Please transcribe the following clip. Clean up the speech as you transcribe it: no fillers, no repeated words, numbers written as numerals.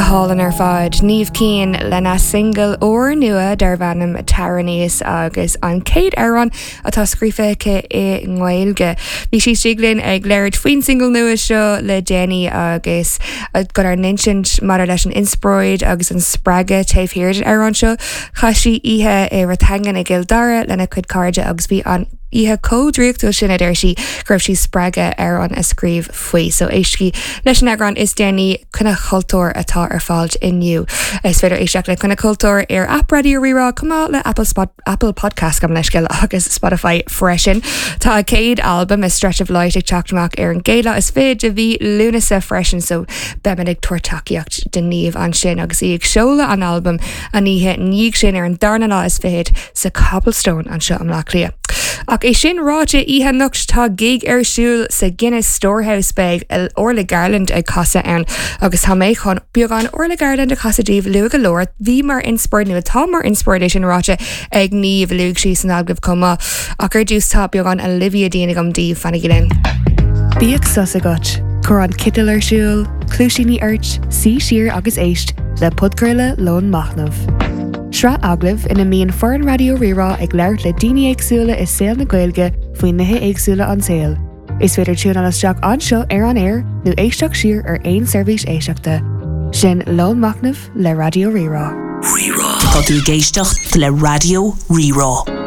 hálainn ar fad, Niamh Keane lena singil úrnua darb ainm Tar Aníos agus an chéad amhrán atá scríofa aici i nGaeilge. Bhí sí istigh linn ag labhairt faoin singil nua seo le déanaí agus chun ár n-insint maidir leis an inspioráid agus an spreagadh taobh thiar den amhrán seo. Chaith sí oíche i Rathangan i gCill Dara lena cuid cairde agus bhí an oíche chomh draíochtúil sin, a deir sí, go raibh sí spreagtha amhrán a scríobh faoi. So éistigí leis an eagrán is déanaí Coinne Chultúir atá ar fáil inniu. Is féidir éisteacht le Coinne Cultúir ar aip Raidió Rí-Rá chomh maith le Apple Spot Apple Podcast gabh mo leithscéal agus Spotify freisin. Tá a céad albam A Stretch of Light ag teacht amach ar an gcéad lá is fiche de mhí Lúnasa freisin so beimid ag tabhairt tacaíocht do Niamh ansin agus í ag seoladh an albaim an oíche ina dhiaidh sin ar an darna lá is fichead sa Cobblestone anseo i mBleá Cliath. Ach é sin ráite, oíche anocht tá gig ar siúl sa Guinness Storehouse beidh Orla Gartland ag casadh ann agus tá mé chun beagán Orla Gartland a chasadh daoibh luath go leor. Bhí mar inspioráid nó atá mar inspioráid é sin ráite ag Niamh, luaigh sí san agallamh chomh maith. Ach ar dtús tá beagán Olivia Dean agam daoibh, fanaigí linn. Bíodh sos agat, cuir an citeal ar siúl, cluaisíní ort, suigh siar agus éist le podchraoladh Lón Machnaimh. Sraith agallamh ina mbíonn foireann Raidió Rí-Rá ag labhairt le daoine éagsúla i saol na Gaeilge faoi nithe éagsúla an tsaoil. Is féidir tiúnáil isteach anseo ar an aer nó éisteacht siar ar aon seirbhís éisteachta. Sin Lón Machnaimh le Raidió Rí-Rá. Rí-Rá. Tá tú ag éisteacht le Raidió Rí-Rá.